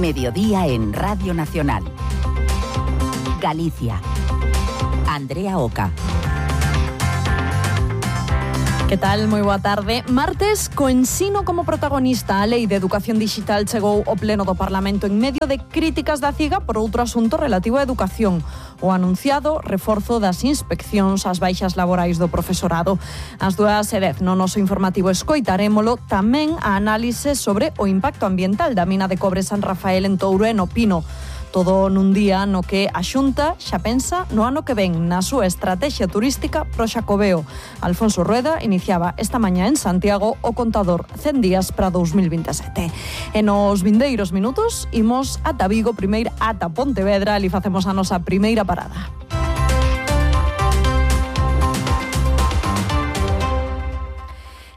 Mediodía en Radio Nacional. Galicia. Andrea Oca. Que tal? Moi boa tarde. Martes, co ensino como protagonista, a Lei de Educación Digital chegou ao Pleno do Parlamento en medio de críticas da CIGA por outro asunto relativo á educación, o anunciado reforzo das inspeccións ás baixas laborais do profesorado. Ás 2:10 no noso informativo escoitarémolo tamén a análise sobre o impacto ambiental da mina de cobre San Rafael en Touro e no Pino. Todo nun día no que a Xunta xa pensa no ano que ven na súa estrategia turística pro Xacobeo. Alfonso Rueda iniciaba esta mañá en Santiago o contador 100 días para 2027. E nos vindeiros minutos imos ata Vigo, primeiro ata Pontevedra, ali facemos a nosa primeira parada.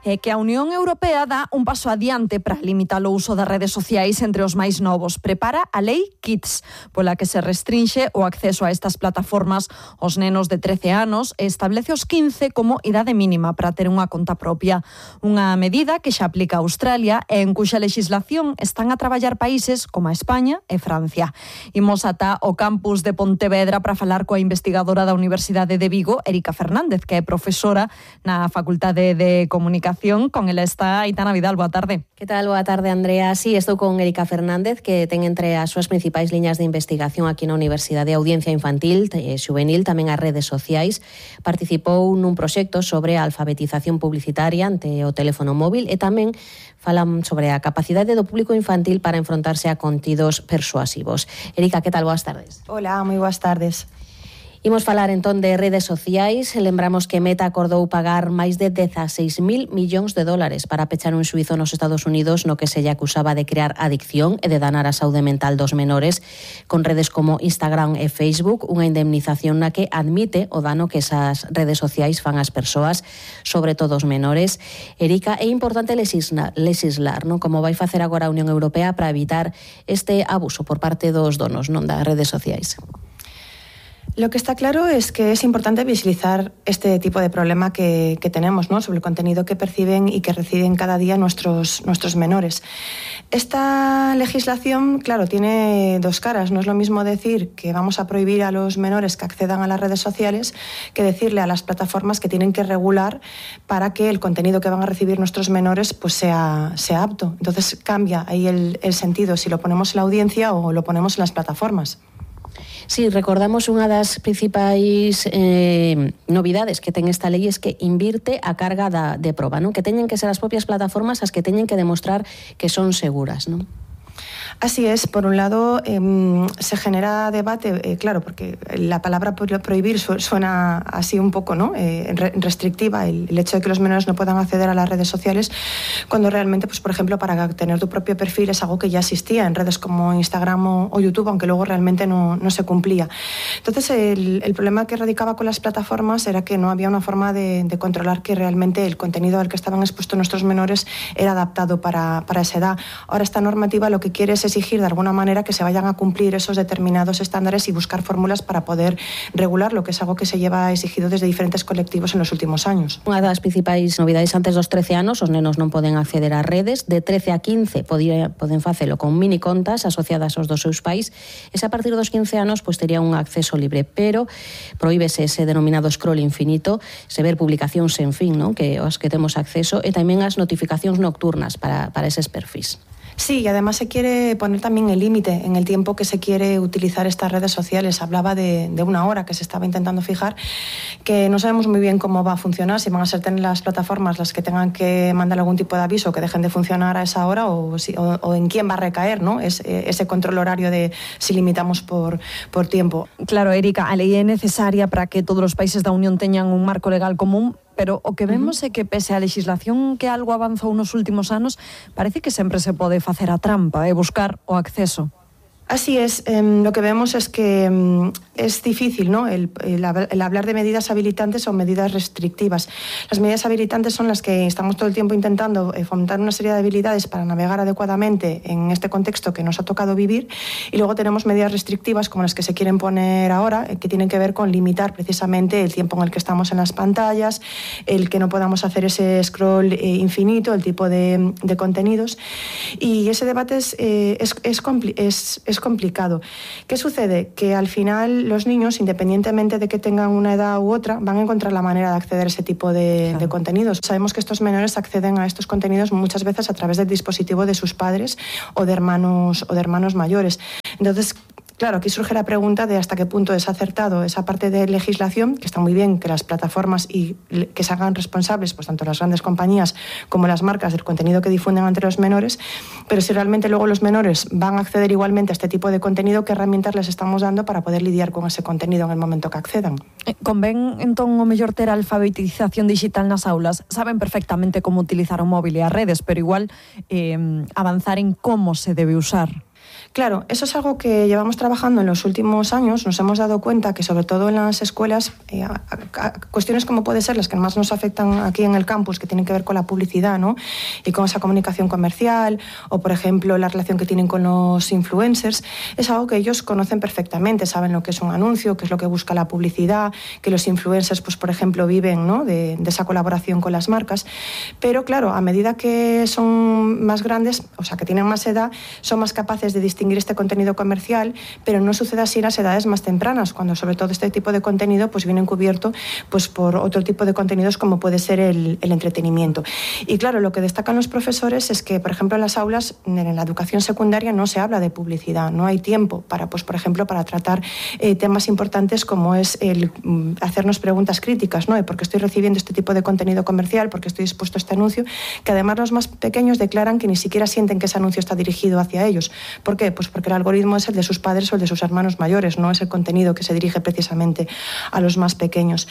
É que a Unión Europea dá un paso adiante para limitar o uso das redes sociais entre os máis novos. Prepara a Lei Kids, pola que se restrinxe o acceso a estas plataformas aos nenos de 13 anos e establece os 15 como idade mínima para ter unha conta propia. Unha medida que xa aplica a Australia e en cuxa legislación están a traballar países como a España e Francia. Imos ata o campus de Pontevedra para falar coa investigadora da Universidade de Vigo, Erika Fernández, que é profesora na Facultade de Comunicación. Con ela está Aitana Vidal. Boa tarde. Que tal? Boa tarde, Andrea. Sí, estou con Erika Fernández, que ten entre as súas principais liñas de investigación aquí na Universidade Audiencia Infantil e Xuvenil, tamén as redes sociais. Participou nun proxecto sobre a alfabetización publicitaria ante o teléfono móvil e tamén falan sobre a capacidade do público infantil para enfrontarse a contidos persuasivos. Erika, que tal? Boas tardes. Hola, moi boas tardes. Imos falar entón de redes sociais. Lembramos que Meta acordou pagar máis de 16.000 millóns de dólares para pechar un xuízo nos Estados Unidos no que se lle acusaba de crear adicción e de danar a saúde mental dos menores con redes como Instagram e Facebook, unha indemnización na que admite o dano que esas redes sociais fan ás persoas, sobre todo os menores. Erika, é importante legislar, non? Como vai facer agora a Unión Europea para evitar este abuso por parte dos donos, non, das redes sociais. Lo que está claro es que es importante visibilizar este tipo de problema que tenemos, ¿no? Sobre el contenido que perciben y que reciben cada día nuestros menores. Esta legislación, claro, tiene dos caras. No es lo mismo decir que vamos a prohibir a los menores que accedan a las redes sociales que decirle a las plataformas que tienen que regular para que el contenido que van a recibir nuestros menores pues sea apto. Entonces cambia ahí el sentido si lo ponemos en la audiencia o lo ponemos en las plataformas. Sí, recordamos unha das principais novidades que ten esta lei es que invirte a carga de proba, non? Que teñen que ser as propias plataformas as que teñen que demostrar que son seguras, non? Así es, por un lado se genera debate, claro, porque la palabra prohibir suena así un poco, ¿no? Restrictiva, el hecho de que los menores no puedan acceder a las redes sociales, cuando realmente, pues por ejemplo, para tener tu propio perfil es algo que ya existía en redes como Instagram o YouTube, aunque luego realmente no se cumplía. Entonces, el problema que radicaba con las plataformas era que no había una forma de controlar que realmente el contenido al que estaban expuestos nuestros menores era adaptado para esa edad. Ahora esta normativa lo que quiere es exigir de alguna manera que se vayan a cumplir esos determinados estándares y buscar fórmulas para poder regular, lo que es algo que se lleva exigido desde diferentes colectivos en los últimos años. Unha das principais novidades: antes dos 13 anos os nenos non poden acceder ás redes, de 13 a 15 poden facelo con mini contas asociadas aos dos seus pais, e a partir dos 15 anos pues tería un acceso libre, pero prohíbese ese denominado scroll infinito, se ver publicacións sen fin, non? Que os que temos acceso, e tamén as notificacións nocturnas para eses perfis. Sí, y además se quiere poner también el límite en el tiempo que se quiere utilizar estas redes sociales. Hablaba de una hora que se estaba intentando fijar, que no sabemos muy bien cómo va a funcionar, si van a ser las plataformas las que tengan que mandar algún tipo de aviso que dejen de funcionar a esa hora o en quién va a recaer, ¿no? Ese control horario de si limitamos por tiempo. Claro, Erika, a lei é necesaria para que todos os países da Unión teñan un marco legal común, pero o que vemos é que pese á legislación que algo avanzou nos últimos anos, parece que sempre se pode facer a trampa e buscar o acceso. Así es, lo que vemos es que es difícil, ¿no? El hablar de medidas habilitantes o medidas restrictivas. Las medidas habilitantes son las que estamos todo el tiempo intentando fomentar una serie de habilidades para navegar adecuadamente en este contexto que nos ha tocado vivir, y luego tenemos medidas restrictivas como las que se quieren poner ahora, que tienen que ver con limitar precisamente el tiempo en el que estamos en las pantallas, el que no podamos hacer ese scroll infinito, el tipo de contenidos, y ese debate es complicado. ¿Qué sucede? Que al final los niños, independientemente de que tengan una edad u otra, van a encontrar la manera de acceder a ese tipo de contenidos. Sabemos que estos menores acceden a estos contenidos muchas veces a través del dispositivo de sus padres o de hermanos mayores. Entonces, claro, aquí surge la pregunta de hasta qué punto es acertado esa parte de legislación, que está muy bien que las plataformas y que se hagan responsables, pues tanto las grandes compañías como las marcas, del contenido que difunden entre los menores, pero si realmente luego los menores van a acceder igualmente a este tipo de contenido, ¿qué herramientas les estamos dando para poder lidiar con ese contenido en el momento que accedan? Convén, entón, o mellor ter a alfabetización digital nas aulas. Saben perfectamente como utilizar o móvil e as redes, pero igual avanzar en cómo se debe usar. Claro, eso es algo que llevamos trabajando en los últimos años. Nos hemos dado cuenta que, sobre todo en las escuelas, cuestiones como puede ser las que más nos afectan aquí en el campus, que tienen que ver con la publicidad, ¿no? Y con esa comunicación comercial, o por ejemplo la relación que tienen con los influencers, es algo que ellos conocen perfectamente, saben lo que es un anuncio, qué es lo que busca la publicidad, que los influencers, pues por ejemplo, viven, ¿no?, de esa colaboración con las marcas. Pero claro, a medida que son más grandes, o sea, que tienen más edad, son más capaces de distinguir este contenido comercial, pero no sucede así en las edades más tempranas, cuando sobre todo este tipo de contenido pues viene encubierto pues por otro tipo de contenidos como puede ser el entretenimiento. Y claro, lo que destacan los profesores es que, por ejemplo, en las aulas, en la educación secundaria, no se habla de publicidad, no hay tiempo para, pues por ejemplo, para tratar temas importantes como es el hacernos preguntas críticas, ¿no? ¿Por qué estoy recibiendo este tipo de contenido comercial? ¿Por qué estoy expuesto a este anuncio? Que además los más pequeños declaran que ni siquiera sienten que ese anuncio está dirigido hacia ellos. ¿Por qué? Pues porque el algoritmo es el de sus padres o el de sus hermanos mayores, no es el contenido que se dirige precisamente a los más pequeños.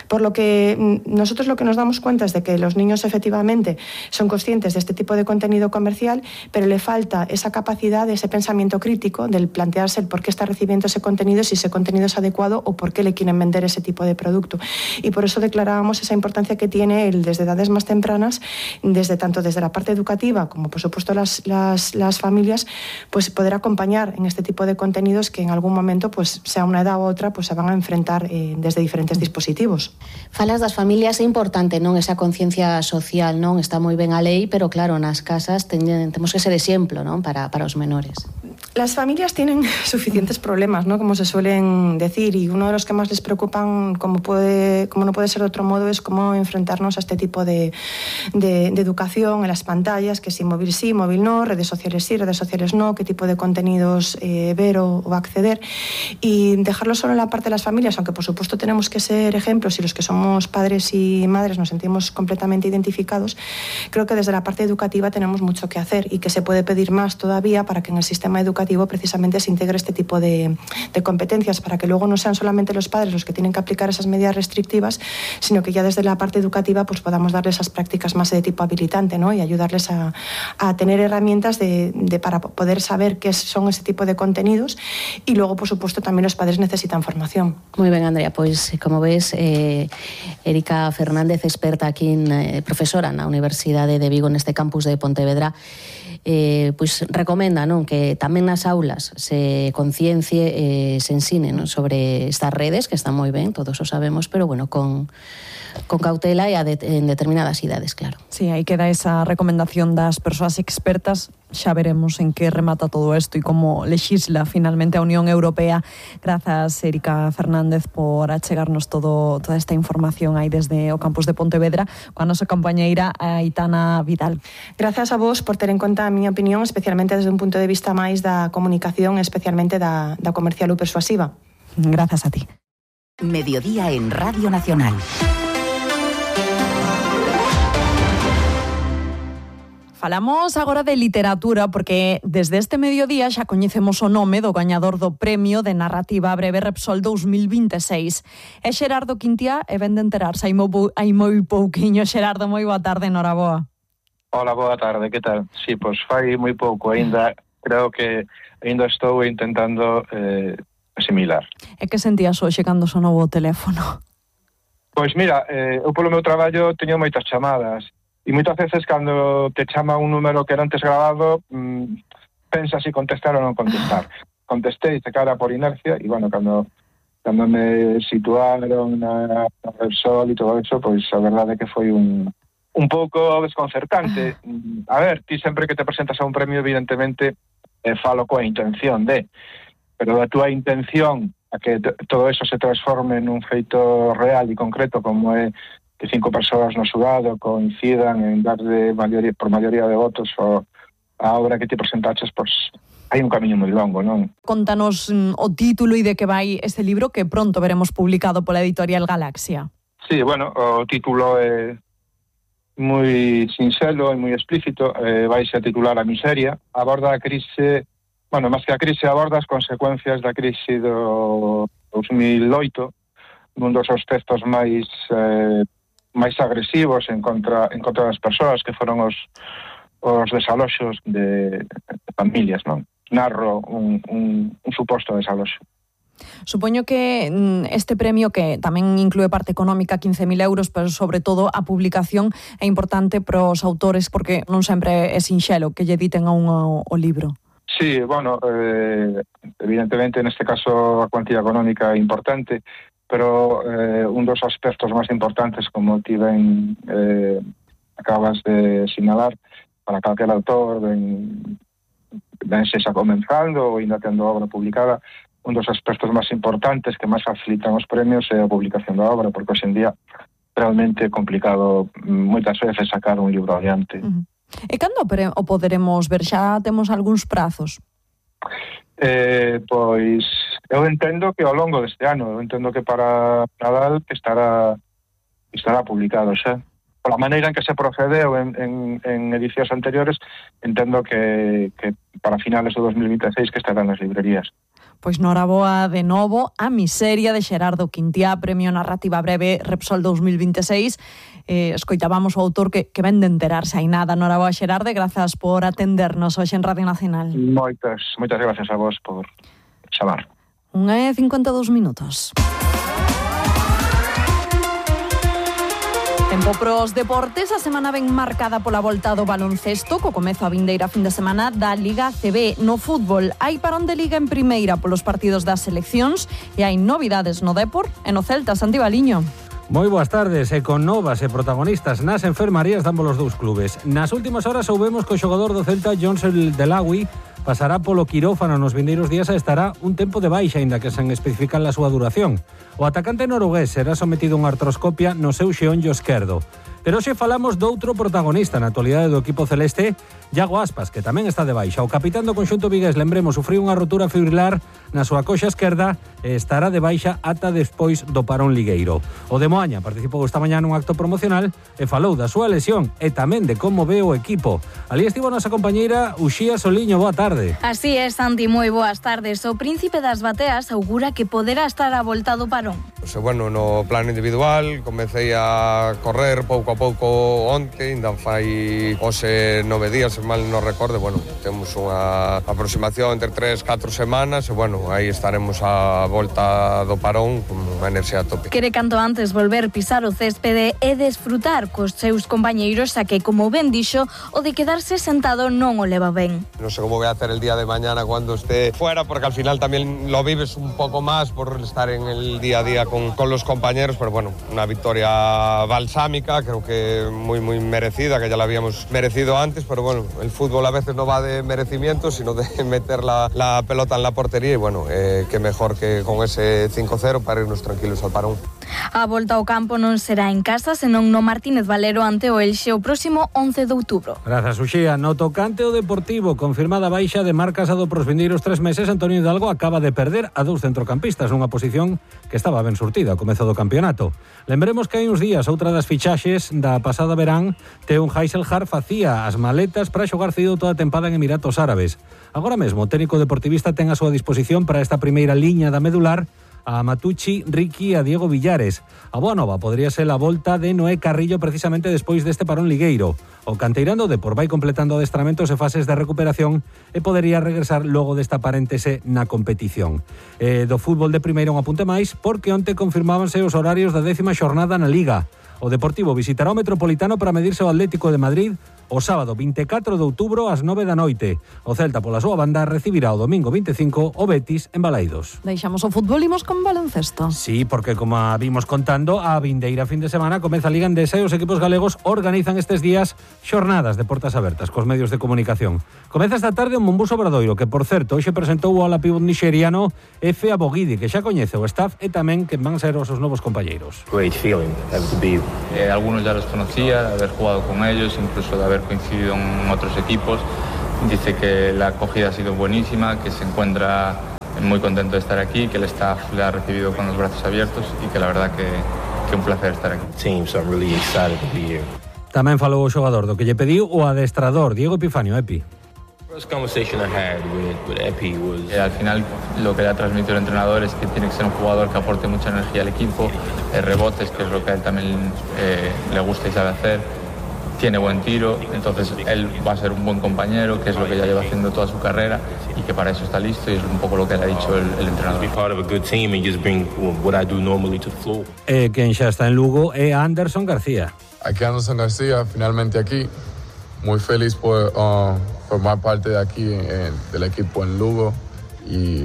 Por lo que nosotros lo que nos damos cuenta es de que los niños efectivamente son conscientes de este tipo de contenido comercial, pero le falta esa capacidad de ese pensamiento crítico, del plantearse el por qué está recibiendo ese contenido, si ese contenido es adecuado o por qué le quieren vender ese tipo de producto. Y por eso declarábamos esa importancia que tiene desde edades más tempranas, tanto desde la parte educativa como por supuesto las familias, pues poder acompañar en este tipo de contenidos que en algún momento, pues sea una edad u otra, pues se van a enfrentar desde diferentes dispositivos. Falas das familias, é importante, non, esa conciencia social, non? Está moi ben a lei, pero claro, nas casas temos que ser exemplo, non, para os menores. Las familias tienen suficientes problemas, ¿no?, como se suelen decir, y uno de los que más les preocupan, como no puede ser de otro modo, es cómo enfrentarnos a este tipo de educación en las pantallas, que si móvil sí, móvil no, redes sociales sí, redes sociales no, qué tipo de contenidos ver o acceder, y dejarlo solo en la parte de las familias, aunque por supuesto tenemos que ser ejemplos y los que somos padres y madres nos sentimos completamente identificados. Creo que desde la parte educativa tenemos mucho que hacer y que se puede pedir más todavía para que en el sistema educativo precisamente se integre este tipo de competencias, para que luego no sean solamente los padres los que tienen que aplicar esas medidas restrictivas, sino que ya desde la parte educativa pues podamos darles esas prácticas más de tipo habilitante, ¿no?, y ayudarles a tener herramientas para poder saber qué son ese tipo de contenidos. Y luego, por supuesto, también los padres necesitan formación. Muy ben, Andrea, pois como ves, Erika Fernández, experta aquí, profesora na Universidade de Vigo, neste campus de Pontevedra, pois recomenda, non, que tamén nas aulas se conciencie, se ensine, non, sobre estas redes, que están moi ben, todos o sabemos, pero bueno, con cautela e en determinadas idades, claro. Sí, aí queda esa recomendación das persoas expertas. Xa veremos en que remata todo isto e como lexisla finalmente a Unión Europea. Grazas, Erika Fernández, por achegarnos toda esta información aí desde o campus de Pontevedra, coa nosa compañeira Aitana Vidal. Grazas a vos por ter en conta a miña opinión, especialmente desde un punto de vista máis da comunicación, especialmente da comercial ou persuasiva. Grazas a ti. Mediodía en Radio Nacional. Falamos agora de literatura porque desde este mediodía xa coñecemos o nome do gañador do Premio de Narrativa Breve Repsol 2026. É Xerardo Quintiá e ven de enterarse hai moi pouquiño. Xerardo, moi boa tarde, noraboa. Hola, boa tarde, que tal? Sí, pois fai moi pouco, aínda creo que ainda estou intentando asimilar. E que sentías hoxe cando sonou o teléfono? Pois mira, eu polo meu traballo teño moitas chamadas e moitas veces cando te chama un número que era antes grabado pensas se contestar ou non contestar. Contestei de cara por inercia e bueno, cando me situaron na Repsol e todo eso, pois a verdade é que foi un pouco desconcertante. A ver, ti sempre que te presentas a un premio, evidentemente, falo coa intención pero a túa intención a que todo eso se transforme nun feito real e concreto, como é que 5 persoas no xurado coincidan en darle por maioría de votos a obra que ti presentaches, pois hai un camiño moi longo, non? Contanos o título e de que vai este libro que pronto veremos publicado pola editorial Galaxia. Sí, bueno, o título é moi sinxelo e moi explícito, vaise a titular A miseria, aborda a crise, bueno, máis que a crise, aborda as consecuencias da crise do 2008, un dos aspectos máis agresivos en contra das persoas, que foron os desaloxos de familias, non? Narro un suposto desaloxo. Supoño que este premio, que tamén inclúe parte económica, 15.000 euros, pero sobre todo a publicación é importante para os autores porque non sempre é sinxelo que lle editen a un o libro. Sí, bueno, evidentemente neste caso a cuantía económica é importante, pero un dos aspectos máis importantes, como ti ben acabas de sinalar, para calquer autor ben se xa comenzando ou ainda tendo obra publicada, un dos aspectos máis importantes que máis facilitan os premios é a publicación da obra, porque hoxe en día realmente é complicado moitas veces sacar un libro adiante. E cando o poderemos ver? Xa temos algúns prazos? Pois eu entendo que ao longo deste ano, eu entendo que para Nadal estará publicado xa. Por a maneira en que se procedeu en edicións anteriores, entendo que para finales do 2026 que estarán nas librerías. Pois noraboa de novo A miseria de Xerardo Quintiá, Premio Narrativa Breve Repsol 2026. Escoitábamos o autor que ven de enterarse hai nada. Noraboa, Xerardo, grazas por atendernos hoxe en Radio Nacional. Moitas gracias a vos por chamar. 1:52 minutos. Tempo pros deportes, a semana ben marcada pola volta do baloncesto, co comezo a vindeira fin de semana da Liga CB. No fútbol, hai parón de Liga en primeira polos partidos das seleccións e hai novidades no Depor e no Celta. Santi Baliño. Moi boas tardes, e con novas e protagonistas nas enfermarías de ambos os dous clubes. Nas últimas horas soubemos que o xogador do Celta, Jones El Delawi, pasará polo quirófano nos vindeiros días e estará un tempo de baixa, aínda que sen especificar a súa duración. O atacante norugués será sometido a unha artroscopia no seu xeonllo esquerdo. Pero hoxe falamos doutro protagonista na actualidade do equipo celeste, Iago Aspas, que tamén está de baixa. O capitán do conxunto vigués, lembremos, sufriu unha rotura fibrilar na súa coxa esquerda e estará de baixa ata despois do parón ligueiro. O de Moaña participou esta mañá nun acto promocional e falou da súa lesión e tamén de como ve o equipo. Ali estivo a nosa compañeira Uxía Soliño. Boa tarde. Así é, Santi, moi boas tardes. O príncipe das bateas augura que poderá estar a volta do parón. Bueno, no plano individual comecei a correr pouco a pouco onte, ainda fai hoxe 9 días, se mal non recordo. Bueno, temos unha aproximación entre 3-4 semanas e, bueno, aí estaremos a volta do parón con unha enerxía a tope. Quere canto antes volver pisar o céspede e desfrutar cos seus compañeiros, a que, como ben dixo, o de quedarse sentado non o leva ben. Non sei como voy a hacer el día de mañana cuando esté fuera, porque al final también lo vives un poco más por estar en el día a día con los compañeros, pero bueno, una victoria balsámica, creo que muy merecida, que ya la habíamos merecido antes, pero bueno, el fútbol a veces no va de merecimiento, sino de meter la pelota en la portería, y bueno, qué mejor que con ese 5-0 para irnos tranquilos al parón. A volta ao campo non será en casa, senón no Martínez Valero ante o Elxe o próximo 11 de outubro. Grazas, Uxía. No tocante o Deportivo, confirmada baixa de Marc Casado pros vindeiros 3 meses, Antonio Hidalgo acaba de perder a 2 centrocampistas nunha posición que estaba ben surtida ao comezo do campeonato. Lembremos que hai uns días outra das fichaxes da pasada verán, Teun Heiselhar, facía as maletas para xogar cedido toda a tempada en Emiratos Árabes. Agora mesmo o técnico deportivista ten a súa disposición para esta primeira liña da medular a Matucci, Ricky e a Diego Villares. A boa nova podría ser a volta de Noé Carrillo precisamente despois deste parón ligueiro. O canteirán do Depor vai completando adestramentos e fases de recuperación e podería regresar logo desta paréntese na competición. Do fútbol de primeira un apunte máis, porque onte confirmábanse os horarios da 10ª xornada na Liga. O Deportivo visitará o Metropolitano para medirse ao Atlético de Madrid o sábado 24 de outubro ás 9 da noite. O Celta, pola súa banda, recibirá o domingo 25 o Betis en Balaidos. Deixamos o fútbol e imos con baloncesto. Sí, porque como vimos contando, a vindeira fin de semana comeza a Liga Endesa e os equipos galegos organizan estes días xornadas de portas abertas cos medios de comunicación. Comeza esta tarde o Monbus Obradoiro, que, por certo, hoxe presentou o ala pívot nixeriano Efe Abogidi, que xa coñece o staff e tamén que van ser os seus novos compañeiros. Great feeling, to be. Algunos ya los conocía, de haber jugado con ellos, incluso de haber coincidido en otros equipos. Dice que la acogida ha sido buenísima, que se encuentra muy contento de estar aquí, que el staff le ha recibido con los brazos abiertos y que la verdad que un placer estar aquí. Tamén falou o xogador do que lle pediu o adestrador Diego Epifanio. Epi. Al final lo que le ha transmitido el entrenador es que tiene que ser un jugador que aporte mucha energía al equipo, rebotes, que es lo que a él también le gusta y sabe hacer, tiene buen tiro, entonces él va a ser un buen compañero, que es lo que ya lleva haciendo toda su carrera y que para eso está listo, y es un poco lo que le ha dicho el entrenador. Quen xa está en Lugo é Anderson García. Aquí Anderson García, finalmente aquí, muy feliz por formar parte de aquí del equipo en Lugo y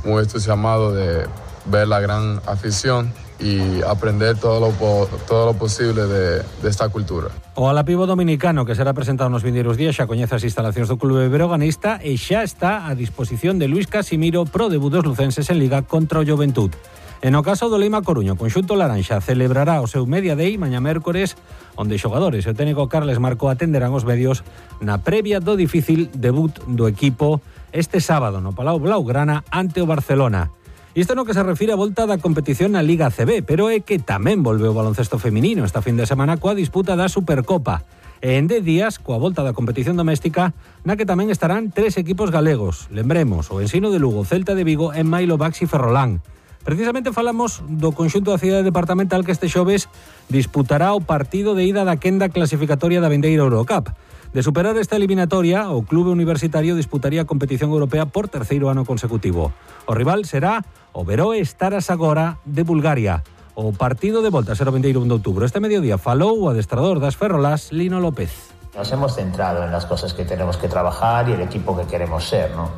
muy entusiasmado de ver la gran afición y aprender todo lo posible de esta cultura. O ala pívot dominicano, que será presentado nos vindeiros días, xa coñece as instalacións do clube breoganista e xa está a disposición de Luis Casimiro pro debut dos lucenses en Liga contra o Juventud. En o caso do Leima Coruño, conxunto laranxa celebrará o seu Media Day mañá mércores, onde xogadores e o técnico Carles Marco atenderán os medios na previa do difícil debut do equipo este sábado no Palau Blaugrana ante o Barcelona. Isto no que se refire a volta da competición na Liga ACB, pero é que tamén volveu o baloncesto feminino esta fin de semana coa disputa da Supercopa. E en 10 días, coa volta da competición doméstica, na que tamén estarán 3 equipos galegos. Lembremos, o Ensino de Lugo, Celta de Vigo e Mailo Baxi Ferrolán. Precisamente falamos do conxunto da cidade departamental que este xoves disputará o partido de ida da quenda clasificatoria da vindeira Eurocup. De superar esta eliminatoria, o clube universitario disputaría a competición europea por terceiro ano consecutivo. O rival será o Veroe Stara Zagora de Bulgaria. O partido de volta será o 21 de outubro. Este mediodía falou o adestrador das Ferrolás, Lino López. Nos hemos centrado en las cosas que tenemos que trabajar y el equipo que queremos ser, ¿no?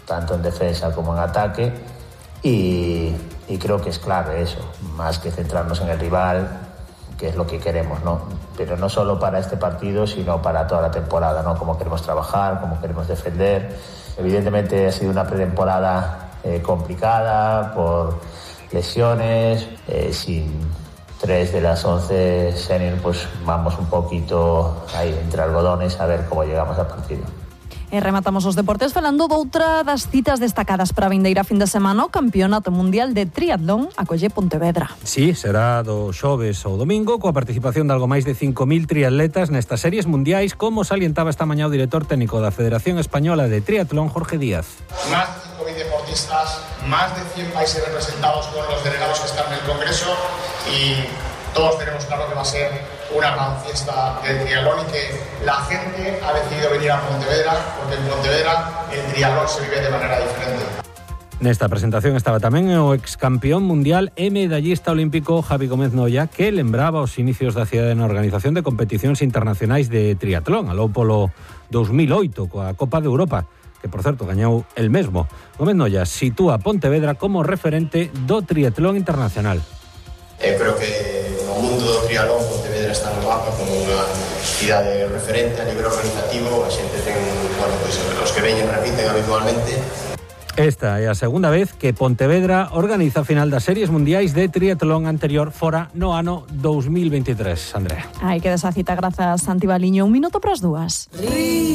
Tanto en defensa como en ataque. Y creo que es clave eso, más que centrarnos en el rival, que es lo que queremos, ¿no? Pero no solo para este partido, sino para toda la temporada, ¿no? Cómo queremos trabajar, cómo queremos defender. Evidentemente ha sido una pretemporada complicada por lesiones, sin 3 de las 11 senior, pues vamos un poquito ahí entre algodones a ver cómo llegamos al partido. E rematamos os deportes falando doutra das citas destacadas para a vindeira fin de semana, o Campeonato Mundial de Triatlón acolle Pontevedra. Sí, será do xoves ao domingo, coa participación de algo máis de 5.000 triatletas nestas series mundiais, como salientaba esta mañá o director técnico da Federación Española de Triatlón, Jorge Díaz. Más de 5.000 deportistas, más de 100 países representados con los delegados que están en el Congreso, y todos tenemos claro que va a ser una gran fiesta del triatlón y que la gente ha decidido venir a Pontevedra porque en Pontevedra el triatlón se vive de manera diferente. Nesta presentación estaba tamén o excampeón mundial e medallista olímpico Javi Gómez Noya, que lembraba os inicios da cidade na organización de competicións internacionais de triatlón, aló polo 2008 coa Copa de Europa, que por certo gañou el mesmo. Gómez Noya sitúa Pontevedra como referente do triatlón internacional. Creo que no mundo do triatlón Pontevedra está no mapa como unha cidade referente a nivel organizativo. A xente ten, pues, os que veñen repiten habitualmente. Esta é a segunda vez que Pontevedra organiza a final das series mundiais de triatlón, anterior fora no ano 2023, Andrea. Hai que desa cita, grazas Santi Baliño. 1 minuto para as 2.